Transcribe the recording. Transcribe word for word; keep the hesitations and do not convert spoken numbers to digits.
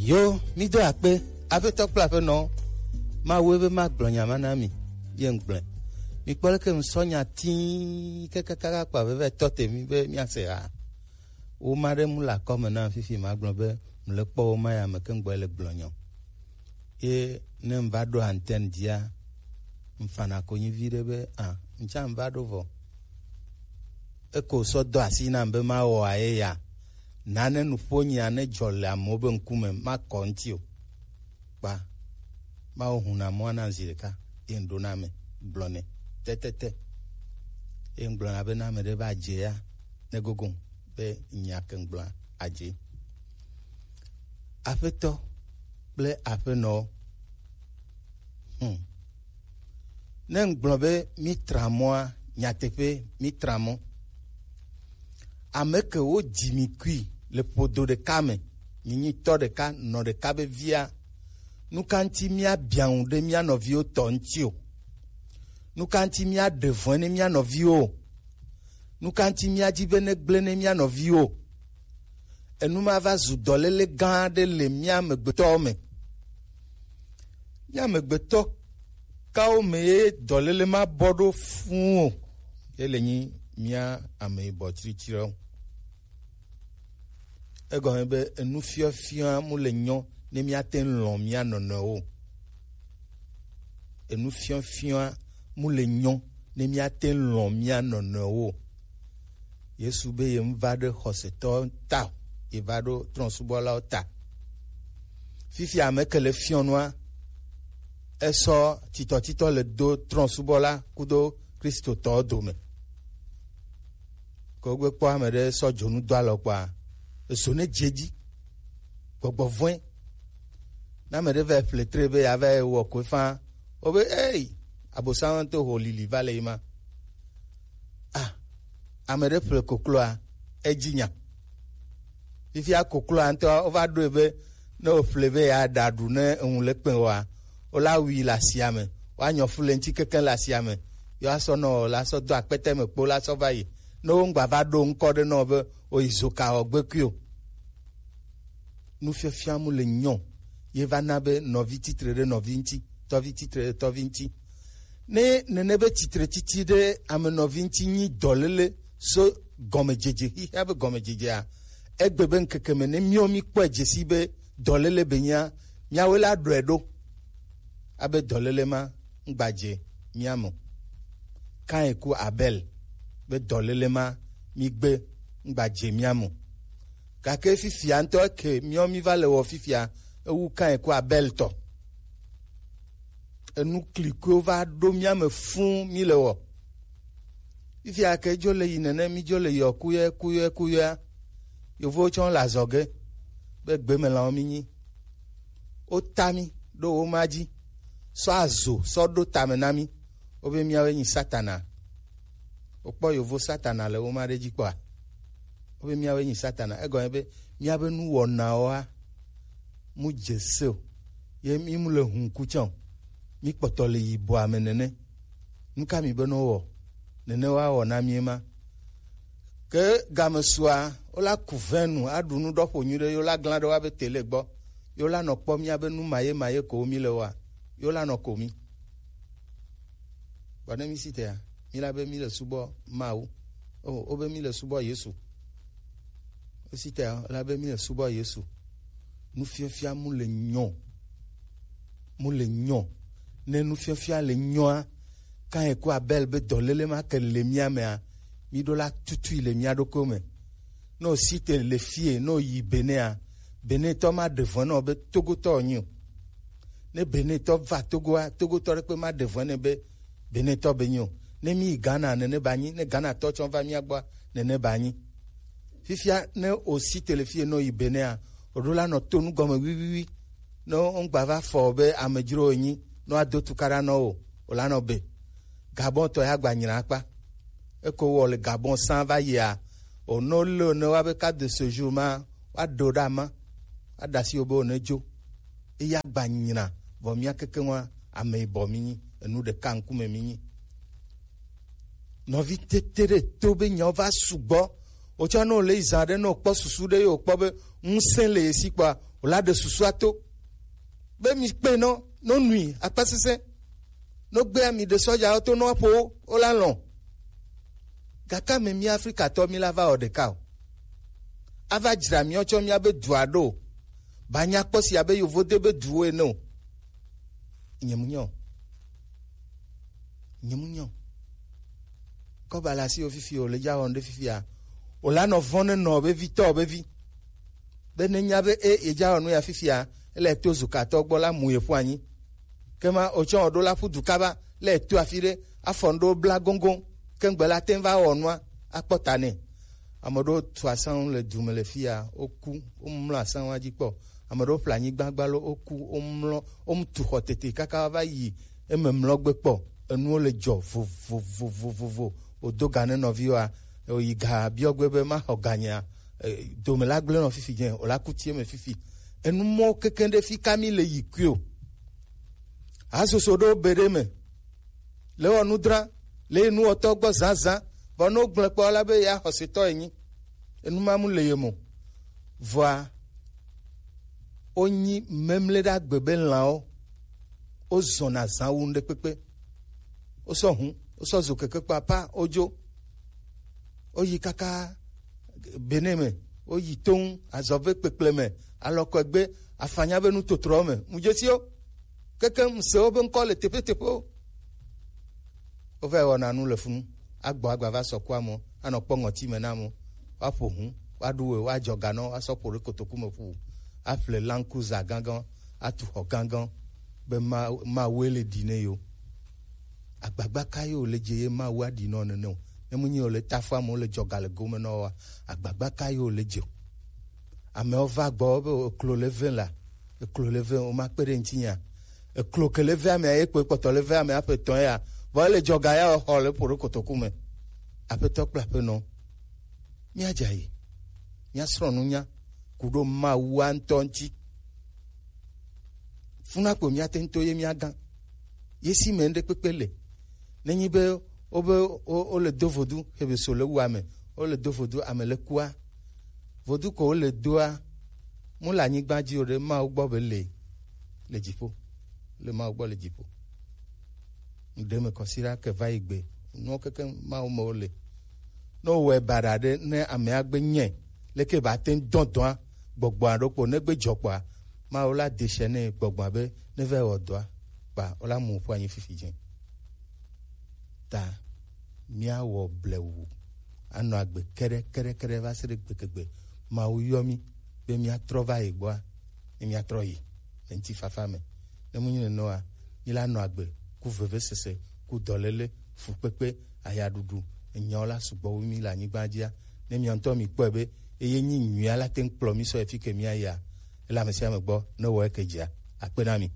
Yo, mi do akpe, aƒetɔ kple aƒenɔ, Mawu be ma gblɔ nya ma na mi, ye ŋgblẽ. Mi kpɔ leke ŋsɔ nya tii kekekaka kpa veve tɔ te mi be mi ase ha. Wo ma ɖe mu le akɔme na fifi ma gblɔ be mu le kpɔ wo ma ya me ke ŋgbɔ le gblɔ nyɔ. Ye ne ŋva ɖo antenne dzia, ŋfana konyi vi ɖe be, ah, ŋtsa ŋva ɖo vɔ. Eko sɔ do asi nam be mawɔ aye ya. Nane nuƒo nyia ne dzɔ le amewo be ŋkume, makɔ ŋuti o. Kpa, mawo huna mɔa na zi ɖeka, ye ŋɖo na ame, gblɔ nɛ, tetete. Ye ŋgblɔ na be na ame ɖe va dze ya, ne gogo be nya ke ŋgblɔa adze. Aƒetɔ kple aƒenɔwo. Hmm. Ne ŋgblɔ be mi tra mɔa, nyateƒe mi tra mɔ. Ame ke wo dzi mi kui le ƒodo ɖeka me, mi nyi tɔ ɖeka, nɔ ɖeka be via, nu ka ŋuti mia biaŋu ɖe mia nɔviwo tɔ ŋuti o? Nu ka ŋuti mia ɖe vɔ̃e ne mia nɔviwo o? Nu ka ŋuti mia dzi be ne gblẽ ne mia nɔviwo o? Enu ma va zu dɔléle gã aɖe le mía amegbetɔwo me. Mía amegbetɔ kawo me ye dɔléle ma bɔ ɖo fũu o? Ye le nyi mía ame yibɔ tsritsriwo. Egɔme be enu fiɔfiɔ mu le nyɔ ne míate ŋu lɔ̃ mía nɔnɔewo. Enu fiɔfiɔ mu le nyɔ ne míate ŋu lɔ̃ mía nɔnɔewo. Yesu be ye ŋva ɖe xɔsetɔwo ta o, ye va ɖo trɔ̃subɔlawo ta. Fifi ame ke le fiɔnua, esɔ titɔtitɔ le do trɔ̃subɔla kudo Kristotɔwo dome. Ke wogbe kpɔ ame ɖe sɔ dzonu do alɔ kpɔa, ezo ne dze edzi. Gbɔgbɔ vɔ̃e. Ne ame ɖe va ƒle tre be yeava yi wɔ koe faa, wobe, ei, Abosam to ho lili va le yi ma. Ah, ame ɖe ƒle kokloa, edzi nya. Fifia kokloa ŋutɔ, wova ɖoe be ne wòƒle be yeaɖa ɖu ne eŋu le kpẽ oa, wola wui le asia me, woanyɔ fu le ŋuti kekeŋ le asia me, yewoasɔ nɔ la sɔ do akpete me kpo la sɔ va yi. Ne woŋgba va ɖo ŋkɔ ɖe nɔ be oyi zoka wɔ gbekui o. Nufiafia mu le nyɔ, ye va na be nɔvi titre ɖe nɔvi ŋuti, tɔvi titre ɖe tɔvi ŋuti. Ne nene be titre titi ɖe ame nɔvi ŋuti nyi dɔléle so gɔmedzedze, xexea be gɔmedzedzea, egbe be ŋkeke me ne míawo míkpɔe dze sii be dɔléle be nyia, míawoe la ɖɔe ɖo. Abe dɔléle ma ŋgbadze mía me o. Kain ku Abel be dɔléle ma mígbe ŋgbadze mía me o. Gake fifia ŋutɔ eke míawo míva le wɔ fifia, ewu Kain ku Abel tɔ. Enu klikoewo va ɖo mía me fũu mí le wɔ. Fifia ke dzo le yi nene, mí dzo le yɔ kuyɔe, kuyɔe, kuyɔea. Yovowo tsɔ le azɔge be gbemelãwo mí nyi. Wota mí ɖo wo ma dzi, sɔ azo sɔ ɖo tame na mí. Wobe míawoe nyi Satana. Wokpɔ yovo Satana le wo ma ɖe dzi kpɔa? Wobe míawoe nyi Satana. Egɔme be míabe nuwɔnawoa mu dze se o. Ye mí mu le hun ku tsã o. Mí kpɔtɔ le yibɔa me nene. Nu ka mi be ne wowɔ? Nene woawɔ na mí ema. Ke game sua, wola ku vɛnu, aɖu nu ɖɔ ƒo nyuie ɖe, yewo la glã ɖe woabe tele gbɔ. Yewo la nɔ kpɔ mía be nu maye maye ko mí le wɔa, yewo la nɔ ko mí. Vɔ ne mí si tea, mí la be mí le subɔ Mawu. O, wobe mí le subɔ Yesu. Mí si tea, la be mí le subɔ Yesu. Nufiafia mu le nyɔ. Mu le nyɔ. Ne nufiafia le nyɔa, Kain ku Abel be dɔléle ma ke le mía mea, mí ɖo la tutui le mía ɖokuiwo me. Ne wòsi te le fie, ne wòyi Benea, Benetɔ ma ɖe vɔ̃ na wò be Togotɔ wònyi o. Ne Benetɔ va Togoa, Togotɔ ɖekpe ma ɖe vɔ̃ nɛ be Benetɔ be nyi o. Ne mí yi Ghana, nene ba nyi. Ne Ghanatɔ tsɔ va mía gbɔa, nene ba nyi. Fifia ne wòsi te le fie, ne wòyi Benea, wòɖo la nɔ to nu gɔme wiwiwi. Ne woŋgba va fɔ be amedzro wònyi, ne woado tukaɖa na wò, wòla nɔ be. Gabon tɔ ya gba nyina akpa. Eko wɔ le Gabon sã va yia, o ne wolé ne woabe carte de séjour ma, woaɖe wo ɖe ama, woaɖe asi wo be wòne dzo. Eya gba nyina, vɔ mía kekeŋua, ame yibɔ mí nyi, enu ɖeka ŋkume mí nyi. Nɔvi tete ɖe to be nyawo va sugbɔ, Otsɔ ne wòle yi zã ɖe, ne wòkpɔ susu ɖe ye wòkpɔ be ŋusẽ le ye si kpɔa, wòla ɖe susua to. Be mi kpe nɔ, no nui akpasesẽ, no gbea mi ɖe sɔjawo to no aƒo wo, wola lɔ̃. Gake ame mi Afrikatɔ mi la va wɔ ɖeka o. Ava dzra mi tsɔ mia be dua ɖo o. Ba nya kpɔ si abe yovo de be duwo ene o. Nye mu nyɔ. Nye mu nyɔ. Kɔba le asi wo fifi o, le dza wɔn ɖe fifia. O la nɔ vɔn ne nɔ be vi tɔ be vi. Be ne nya be e, e dza wɔn ya fifia, ele to zukatɔ gbɔ la mu ye ƒu anyi. Kema o tsɔ o ɖo la ƒu du kaba, le to afi ɖe, afɔ ŋɖo bla goŋgoŋ, ke ŋgbe la te va wɔ nua, akpɔ ta nɛ. Ame ɖewo tu asaŋu le du me le fia, woku, womlɔ asaŋua dzi kpɔ. Ame ɖewo ƒle anyigba gbalo, woku, womlɔ, womu tu xɔ tete kaka va yi eme mlɔ gbe kpɔ. Enuwo le dzɔ vovovovovovo. Wodo ga ne nɔviwoa, woyi ga biɔ gbe be maxɔ ganyea, e, dome la gblẽ nɔ fifi dze, wòla ku tie me fifi. Enu mɔwo kekeŋ ɖe fi ka mi le yi kui o. Hasoso ɖewo be ɖe me. Le wɔ nudra, le nuwɔtɔ gbɔ zazã, vɔ ne wogblẽ kpɔ la be ya xɔsetɔ enyi. Enu ma mu le ye mo. Vɔa, wonyi memle ɖe agbe be lãwo, wozɔna zã wu ŋɖe kpekpe. Wosɔ hu, wosɔ zo keke kpapa, wodzo. Woyi kaka Benin me, woyi toŋ, azɔve kpekple me, alɔkɔegbe, afanya be nutotrowo me. Mu dzesi wo. Keke ŋse wobe ŋkɔ le teƒeteƒewo. Wova yi wɔna nu le funu. Agbɔ agba va sɔ ku amewo, anɔ kpɔ ŋɔti me na amewo. Woaƒo hu, woaɖu we, woadzɔ ganɔ, woasɔ ƒo ɖe kotoku me ƒu. Aƒle lankuza gãgã, atu xɔ gãgã, be ma, Mawue le ɖi ne yewo. Agbagba ka ye wòle dze ye Mawu aɖi nɔ nene o? Ne menye wòle tafu amewo le dzɔga le gome nɔ woa, agbagba ka ye wòle dze o? Amewo va gbɔ be eklo le ve la, eklo le ve, woma kpe ɖe ŋuti nya. Eklo ke le ve amea ye kpoe kpɔtɔ le ve amea ƒe tɔn ya, vɔ ele dzɔga ya xɔ le ƒo ɖe kotoku me. Aƒetɔ kple aƒenɔ, míadze ayi, míasrɔ̃ nunya ku ɖo Mawua ŋutɔ ŋuti. Funa kpo míate ŋu to ye míagã. Ye si me ŋɖe kpekpe le. Nenyi be wobe wo, wole do vodu, hebe so le wu ame, wole do vodu ame le kua. Vodu ko wole doa, mu le anyigba dzi o ɖe Mawu gbɔ be le, le dziƒo. Le Mawu gbɔ le dziƒo. Ŋɖe me kɔsiɖa ke va yi gbe. Nuwo keke Mawu me wole. Ne wowɔe baɖa ɖe, ne amea gbe nyɛ, leke ba te ŋu dɔ dɔa, gbɔgbɔa ɖo kpo, ne gbe dzɔ kpɔa, Mawu la de se nɛ gbɔgbɔa be, ne va yi wɔ dɔa, kpa, wola mu ƒu anyi fifi dze. Ta, míawɔ blewu, anɔ agbe keɖe, keɖe, keɖe va se ɖe gbegegbe. Mawu yɔ mí, be míatrɔ va yi gbɔa, ne míatrɔ yi, le ŋutifafa me. Ne mu nyi nenema oa, míla nɔ agbe, ku vevesese, ku dɔléle, fukpekpe, ayaɖuɖu, enyawo la sugbɔ wu mí le anyigba dzia, ne mia ŋutɔ mi kpɔe be, eye nyi nyuia la te ŋu kplɔ mí sɔ yi fi ke mía yia, ele ame sia ame gbɔ, ne wɔ eke dzia, akpe na mi.